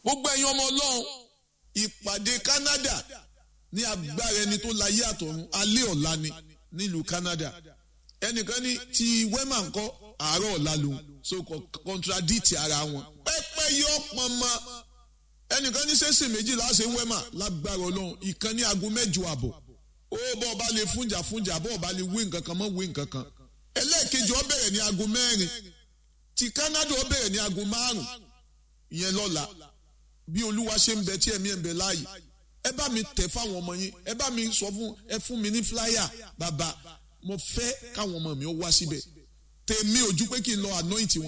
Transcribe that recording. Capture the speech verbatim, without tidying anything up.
Gbogbo ẹ̀yin ọmọ Ọlọ́run, ìpàdé Canada ní agbára ẹni tó láyé àtọ̀run, alẹ́ ọ̀la ni nílùú Canada. Ẹnìkan ní ti wema ńkọ́, àárọ̀ ọ̀la lòun, so contradict ara wọn. Pẹ́pẹ́ yọ pọnmọ. Ẹnìkan ní sẹ́sìn méjìlá ṣe ń wema lágbára Ọlọ́run, ìkan ní aago mẹ́jọ àbọ̀. Ó bọ́ ọba lè fúnjà fúnjà, bọ́ ọba lè wé nǹkan kan mọ́ wé nǹkan kan. Ẹlẹ́ẹ̀kejì ó bẹ̀rẹ̀ ní aago mẹ́rin, ti Canada ó bẹ̀rẹ̀ ní aago márùn-ún ìyẹn lọ́la. Bí Olúwa ṣe ń bẹ tí ẹ̀mí ẹ̀ ń bẹ láàyè, ẹ bá mi tẹ̀ fáwọn ọmọ yín, ẹ bá mi sọ fún ẹ, fún mi ní flyer. Bàbá, mo fẹ́ káwọn ọmọ mi ó wá síbẹ̀. Tèmi ojú pé kí n lọ anoint wọn.